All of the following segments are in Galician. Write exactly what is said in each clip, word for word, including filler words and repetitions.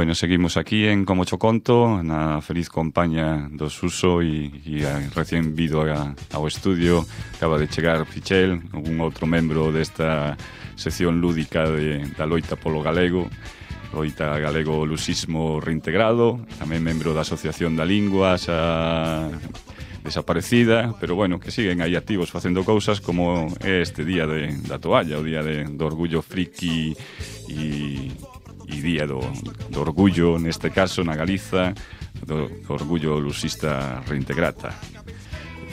Bueno, seguimos aquí en Como Cho Conto, na feliz compañía do Suso e, e a, recén vido a, ao estudio acaba de chegar Pichel, un outro membro desta sección lúdica de, da loita polo galego, loita galego luxismo reintegrado, tamén membro da Asociación da Lingua xa desaparecida, pero bueno, que siguen aí activos facendo cousas como é este día de, da toalla, o día de, do orgullo friki e e día do, do orgullo, neste caso, na Galiza, do, do orgullo luxista reintegrata.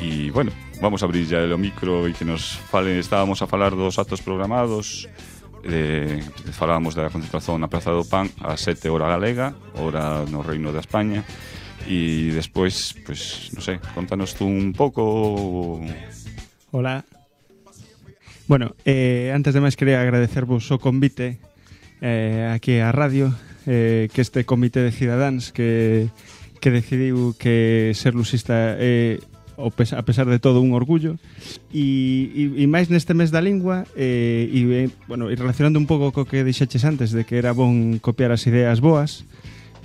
E, bueno, vamos a abrir ya o micro e que nos falen, estábamos a falar dos actos programados, eh, falábamos da concentración na Praza do Pan a sete hora galega, hora no Reino de España, e despois, pues, non sei, contanos tú un pouco. Hola. Bueno, eh, antes de máis quería agradecervos o convite Eh, aquí a radio, eh, que este comité de cidadáns que, que decidiu que ser luxista é, eh, a pesar de todo, un orgullo e, e, e máis neste mes da lingua eh, e, bueno, e relacionando un pouco co que dixeches antes de que era bon copiar as ideas boas,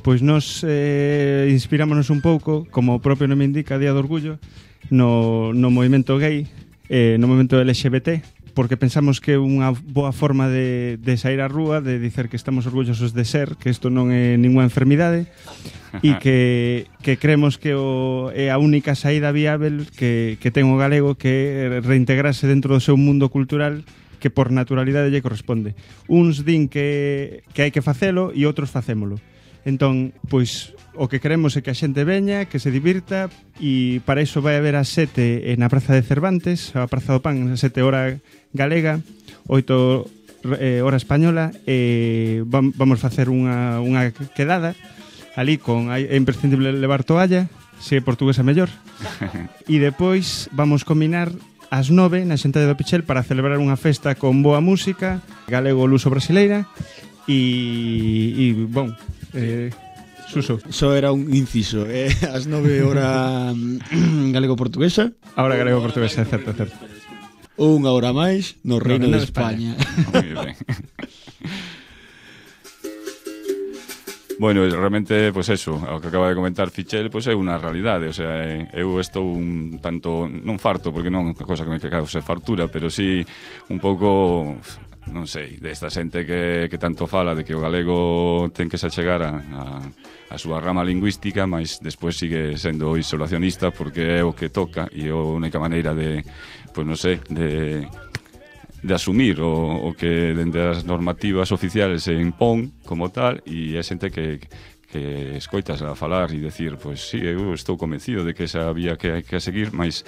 pois nos eh, inspirámonos un pouco, como o propio nome indica, Día do Orgullo, no, no movimento gay, eh, no movimento L G B T, porque pensamos que é unha boa forma de, de sair á rúa, de dicer que estamos orgullosos de ser, que isto non é ninguna enfermidade e que, que creemos que o, é a única saída viável que, que ten o galego, que é reintegrarse dentro do seu mundo cultural que por naturalidade lle corresponde. Uns din que, que hai que facelo e outros facémolo. Entón, pois, o que queremos é que a xente veña, que se divirta, e para iso vai haber a sete na Praza de Cervantes, a Praza do Pan, a sete hora galega, oito eh, hora española, e vamos facer unha, unha quedada ali con, é imprescindible levar toalla, se é portuguesa mellor, e depois vamos combinar ás nove na xente do Pichel para celebrar unha festa con boa música, galego-luso-brasileira, e, e bon, eh, Suso. Só era un inciso, eh? As nove hora galego-portuguesa. Ahora galego-portuguesa, é certo, é certo. Unha hora máis no Reino no, de España, España. Moi ben. Bueno, realmente, pues eso, o que acaba de comentar Fichel, pues é unha realidade, o sea, eu estou un tanto, non farto, porque non é unha cosa que me cause fartura, pero sí un pouco, non sei, desta xente que, que tanto fala de que o galego ten que se achegar a, a, a súa rama lingüística, mas despois sigue sendo isolacionista porque é o que toca e é a única maneira de, pues non sei, de... de asumir o, o que dende as normativas oficiales se impón como tal, e é xente que, que escoitas a falar e decir, pois pues, sí, eu estou convencido de que esa vía que hai que seguir, mas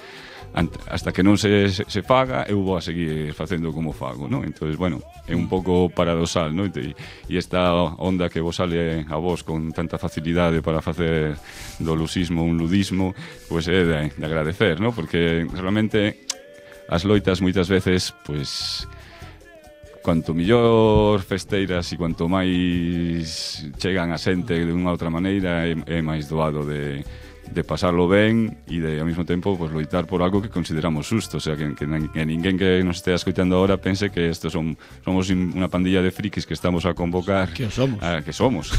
hasta que non se, se, se faga, eu vou a seguir facendo como fago, ¿no? Entonces, bueno, é un pouco paradoxal, ¿no? E, e esta onda que vos sale a vos con tanta facilidade para facer do luxismo un ludismo, pois pues é de, de agradecer, ¿no? Porque realmente as loitas moitas veces, pois, cuanto millor festeiras e cuanto máis chegan a xente de unha outra maneira, é, é máis doado de, de pasarlo ben e de, ao mesmo tempo, pues, loitar por algo que consideramos justo, o sea, que, que, que ninguén que nos estea escoitando ahora pense que estos son, somos unha pandilla de frikis que estamos a convocar, que somos, a, que somos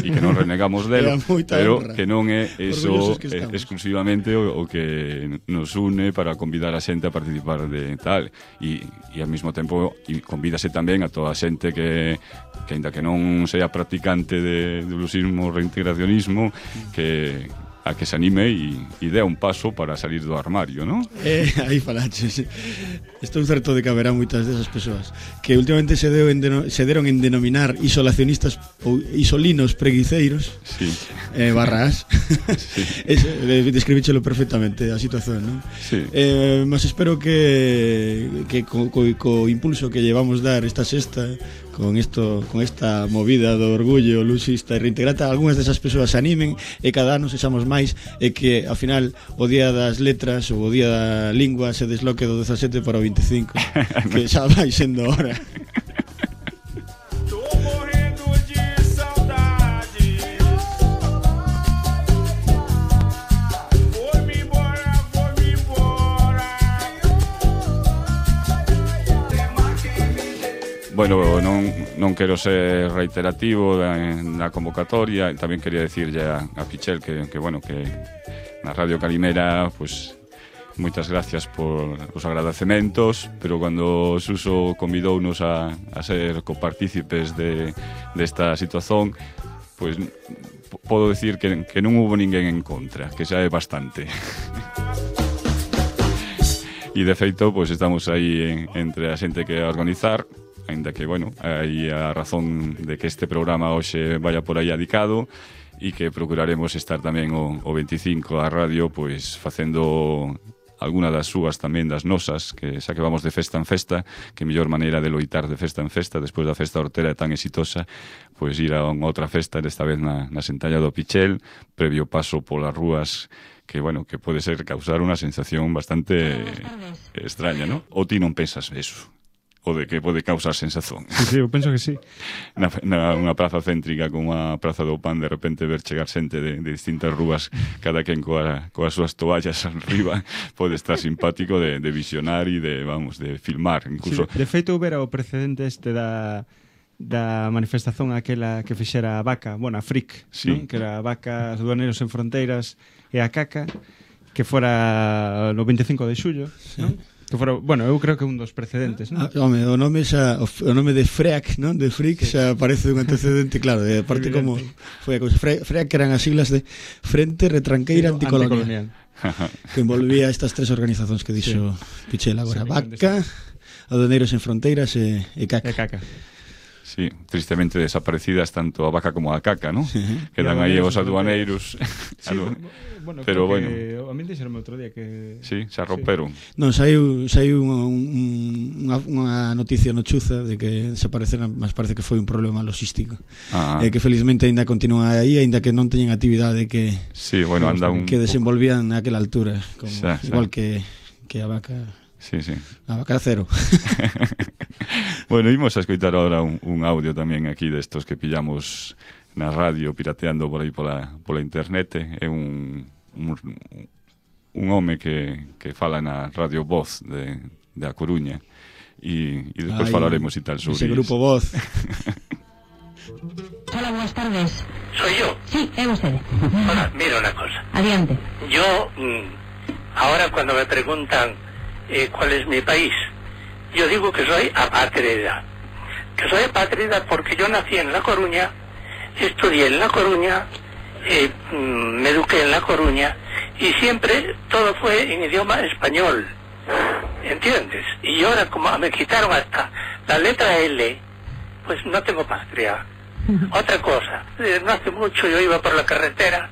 e que non renegamos delo, pero honra. que non é eso que exclusivamente o, o que nos une para convidar a xente a participar de tal, e, e ao mesmo tempo e convídase tamén a toda a xente que, que ainda que non sea practicante de, de luxismo, reintegracionismo, que a que se anime e, e dé un paso para salir do armario, non? Eh, aí falaches. Estou certo de que haberá moitas desas persoas que últimamente se, deu en deno, se deron en denominar isolacionistas ou isolinos preguiceiros, sí. eh, barras. Sí. Es, describíchelo perfectamente a situación, non? Sí. Eh, mas espero que, que co, co, co impulso que llevamos dar esta sexta, con isto, con esta movida do orgullo luxista e reintegrata, algunhas desas persoas se animen e cada ano sexamos máis, e que ao final o día das letras ou o día da lingua se desloque do dezasete para o vinte e cinco, que xa vai sendo hora. Bueno, bueno, non, non quero ser reiterativo da, na convocatoria. Tamén quería decirlle a, a Pichel que, que, bueno, que na Radio Calimera, pues, moitas gracias por os agradecementos, pero cando Suso convidounos a, a ser copartícipes de, desta situación, pues podo decir que, que non hubo ninguén en contra, que xa é bastante. E de feito, pues estamos aí en, entre a xente que a organizar, ainda que, bueno, hai a razón de que este programa hoxe vaya por aí adicado, e que procuraremos estar tamén o, o veinticinco a radio, pois facendo alguna das súas tamén das nosas, que xa que vamos de festa en festa, que mellor maneira de loitar de festa en festa despois da festa hortera tan exitosa, pois ir a unha outra festa, desta vez na, na Sentalla do Pichel, previo paso polas rúas, que, bueno, que pode ser causar unha sensación bastante extraña, ¿no? Ou ti non pensas eso? O de que pode causar sensación. Sí, sí, eu penso que sí. Na, na unha praza céntrica como a Praza do Pan, de repente ver chegar xente de, de distintas rúas, cada quen coa, coas súas toallas arriba, pode estar simpático de, de visionar e de, vamos, de filmar, incluso. Sí, de feito, houbera o precedente este da da manifestación aquela que fixera a Vaca, bueno, a Fric, sí, ¿no? Que era a Vaca, os Aduaneiros Sen Fronteiras e a Caca, que fora no veinticinco de xullo, sí, ¿no? Que fora, bueno, eu creo que un dos precedentes, non? Ah, home, o nome xa, o nome de FREAC, non? De Fric, xa parece un antecedente, claro, de parte como foi a cousa. FREAC, que eran as siglas de Frente Retranqueira Anticolonial, que envolvía estas tres organizacións que dixo sí. Pichel agora, sí, Vaca, Aduaneiros Sen Fronteiras e, e Caca. E Caca. Sí, tristemente desaparecidas tanto a Vaca como a Caca, ¿no? Sí. Quedan aí os aduaneiros. Sí, bueno, pero bueno, a mí dixeron outro día que sí, se romperon. Sí. Non, saiu saiu unha, unha noticia no Chuza de que desapareceran, mas parece que foi un problema logístico. Ah. E que felizmente aínda continúa aí, aínda que non teñen actividade que sí, bueno, anda un que desenvolvían naquela altura, como xa, xa. igual que que a Vaca. Sí, sí. A Vaca cero. Bueno, imos a escoitar ahora un, un audio tamén aquí destos que pillamos na radio pirateando por aí pola, pola internet. É un, un, un home que, que fala na Radio Voz de, de A Coruña e, e despois Ay, falaremos e tal sobre ese grupo Voz. Hola, buenas tardes. ¿Soy yo? Sí, es usted. Hola, mira una cosa. Adiante. Yo, ahora cuando me preguntan eh, cuál es mi país, yo digo que soy apátrida. Que soy apátrida porque yo nací en La Coruña, estudié en La Coruña, eh, me eduqué en La Coruña y siempre todo fue en idioma español. ¿Entiendes? Y ahora como me quitaron hasta la letra L, pues no tengo patria. Otra cosa, eh, no hace mucho yo iba por la carretera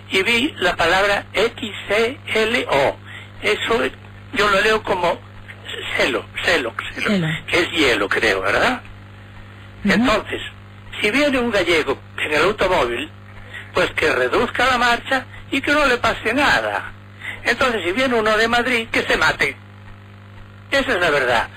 y vi la palabra X C L O. Eso yo lo leo como celo, celo, celo, celo. Que es hielo, creo, ¿verdad? Uh-huh. Entonces, si viene un gallego en el automóvil, pues que reduzca la marcha y que no le pase nada. Entonces, si viene uno de Madrid, que se mate. Esa es la verdad.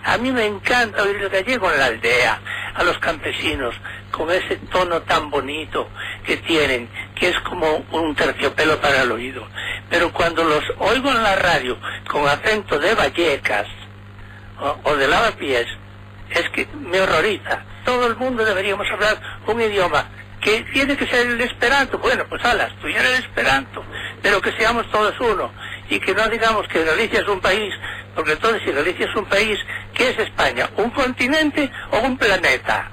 A mí me encanta oír el gallego en la aldea, a los campesinos, con ese tono tan bonito que tienen, que es como un terciopelo para el oído. Pero cuando los oigo en la radio con acento de Vallecas o, o de Lavapiés, es que me horroriza. Todo el mundo deberíamos hablar un idioma que tiene que ser el esperanto. Bueno, pues ala, estudiar el esperanto, pero que seamos todos uno y que no digamos que Galicia es un país, porque entonces si Galicia es un país, ¿qué es España? ¿Un continente o un planeta?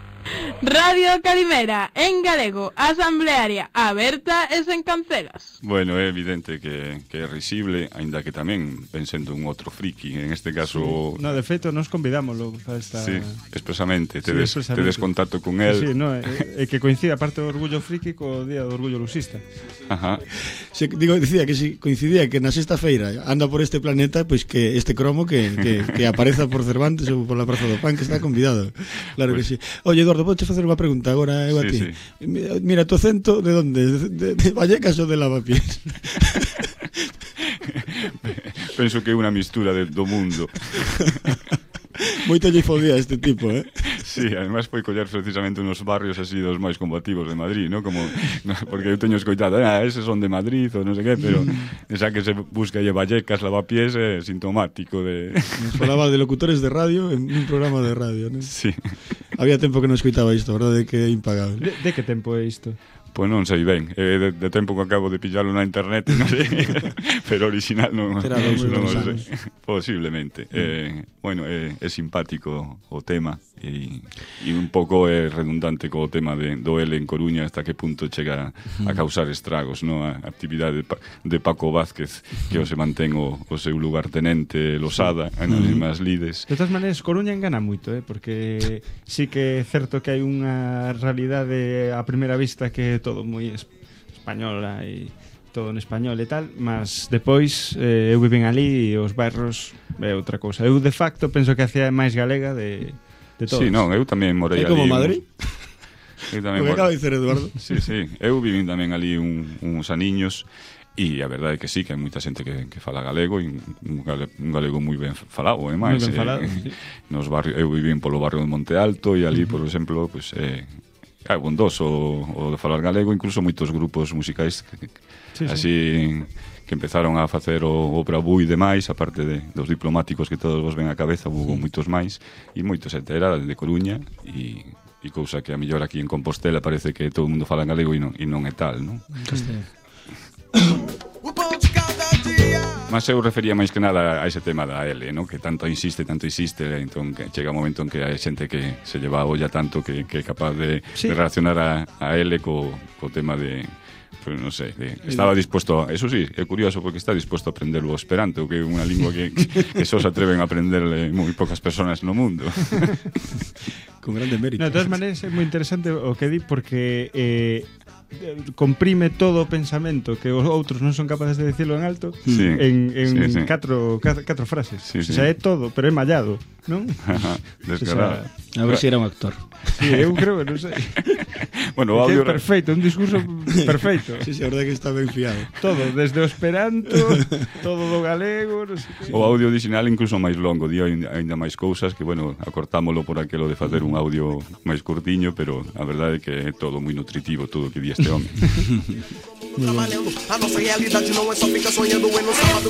Radio Calimera, en galego, asamblearia, aberta e sen cancelas. Bueno, é evidente que, que é risible, aínda que tamén pensando un outro friki, en este caso... Sí. No, de feito, nos convidámoslo para esta... Sí, expresamente, tedes, sí, expresamente. tedes contacto con él. Sí, sí, no, é, é que coincide a parte do orgullo friki co día do orgullo lusista. Ajá. Se, digo, dicía que si coincidía que na sexta feira anda por este planeta, pois pues que este cromo que, que, que apareza por Cervantes ou por la Praza do Pan, que está convidado. Claro pues... que sí. Oye, Eduardo, podes facer unha pregunta agora eu a ti? Sí, sí. Mira, mira, tu acento de onde? De, de, de Vallecas ou de Lavapiés? Penso que é unha mistura de, do mundo. Moito lle fodía este tipo, eh? Sí, además foi coller precisamente unos barrios así dos máis combativos de Madrid, ¿no? Como, no, porque eu teño escoitado, ah, eses son de Madrid ou non sei que, pero esa que se busca lle Vallecas, Lavapiés é sintomático de... Nos falaba de locutores de radio en un programa de radio, ¿no? Sí. Había tempo que non escoitaba isto, verdade que é impagable. De, de que tempo é isto? Pois non sei ben, é de, de tempo que acabo de pillarlo na internet, non sei, pero original non, Será dos non o anos. sei. Posiblemente. Eh, bueno, é, é simpático o tema e, e un pouco é redundante co tema de, do L en Coruña hasta que punto chega a causar estragos, no? A actividade de, Pa- de Paco Vázquez que o se mantén o, o seu lugartenente Losada en as mesmas lides. De todas maneiras, Coruña engana moito, eh? Porque sí que é certo que hai unha realidade a primeira vista que é todo moi es- española e todo en español e tal, mas depois eh, eu viven ali e os bairros é outra cousa. Eu de facto penso que a cidade máis galega de, de todos. Sí, non, eu tamén morei É ali. como un- Madrid? Eu O tamén que mor- acaba de dicer Eduardo. Sí, sí, eu vivín tamén ali un, uns aniños e a verdade é que sí, que hai moita xente que, que fala galego e un, gale, un galego moi ben falado, e máis. Moi ben falado, sí. Nos barrios, eu vivín polo barrio de Monte Alto e ali, por exemplo, pues, eh, é bondoso o, o de falar galego, incluso moitos grupos musicais que, Sí, sí. así que empezaron a facer o, o Bravú e demais, aparte de, dos diplomáticos que todos vos ven á cabeza, hubo moitos máis e moitos xente era de Coruña e e cousa que a mellor aquí en Compostela parece que todo o mundo fala en galego e non, e non é tal, non? Mas eu refería máis que nada a ese tema da L, ¿no? Que tanto insiste, tanto insiste, entón que chega un momento en que hai xente que se lleva a olla tanto que, que é capaz de, Sí. de relacionar a, a L co, co tema de, pues non sei, de, estaba dispuesto a, eso sí, é curioso porque está dispuesto a aprender o esperanto, que é unha lingua que, que só se atreven a aprenderle moi poucas persoas no mundo. Con grande mérito. No, de todas maneiras é moi interesante o que di porque eh, comprime todo o pensamento que os outros non son capaces de decirlo en alto Sí, en, en sí, sí. catro, catro, catro frases. Sí, O sí. sea, é todo, pero é mallado, non? Descarado. A ver se era un actor. Sí, eu creo que non sei. Bueno, o Que é audio, perfeito, un discurso perfeito. Sí, sí, a verdade que está ben fiado. Todo, desde o esperanto, todo do galego, non sei que. o audio original incluso máis longo, di aínda aínda máis cousas que, bueno, acortámolo por aquelo de facer un audio máis curtiño, pero a verdade é que é todo moi nutritivo todo o que di este home. Trabalhando, a nossa realidade não é só ficar sonhando e no sábado.